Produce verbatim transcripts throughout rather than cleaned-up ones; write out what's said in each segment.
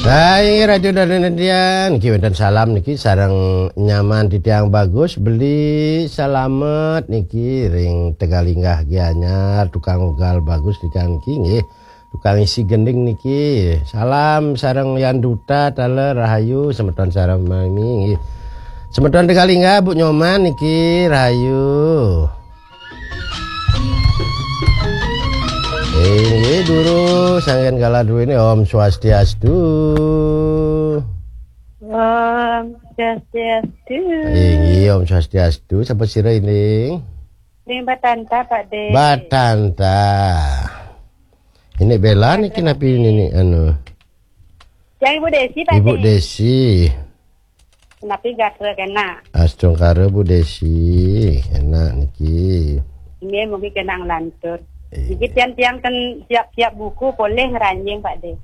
Hai, Radio Danandian, niki wénten salam niki sareng nyaman titiang Bagus, Beli Salamet niki ring Tegalinggah Gianyar, tukang ugal Bagus titiang niki nggih. Tukang isi gending niki. Salam sareng Yan Duta, taler rahayu, semeton sareng mami nggih. Semeton Tegalinggah, Bu Nyoman niki rahayu. Inggih, durus, anggén kala duéné, Om Swastiastu. Om Swastiastu. Inggih, Om Swastiastu. Sapa sira, Ining? Ring Batanta, Pak De. Batanta. Ini Bella niki napi niki, anu? Yang Ibu Desi, Pak Ibu De. Desi. Napi gatra kena? Astungkara, Bu Desi. Enak niki. Ini mungkin kena ngelantur. Iya. Niki tiang-tiang kan siap-siap buku, polih ngranjing, Pak De.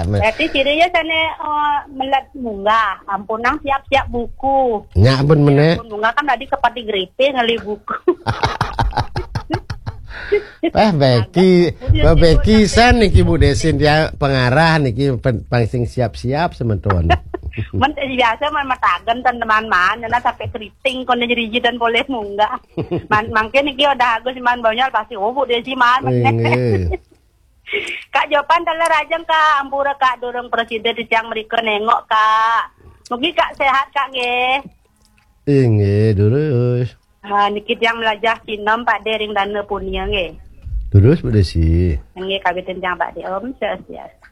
Berarti ciri ya sana, eh, melat munggah, ampunang siap-siap buku. Nyak pun menek. Ampun munggah kan tadi kepati grepe ngeli buku. Bah Beki, Bah Beki san niki Bu Desin dia pengarah niki pen- pang sing siap-siap semeton. Men biasa man matagen teman-teman, nyana sampai keriting kon jadi dan boleh munggah. Man, mangkin niki udah agus man bonyol pasti, "Oh, Bu Desi man." Inggih. Kak Jopan teler ajeng, Kak, ampura, Kak, durung presida titiang mrika nengok, Kak. Mugi Kak sehat, Kak, nggih. Inggih, durus. Ah, niki tiang melajah sinem, Pak De, ring Dana Punia, nggih. Durus, Bu Desi. Nggih, kawitin tiang, Pak De. Om Swastiastu.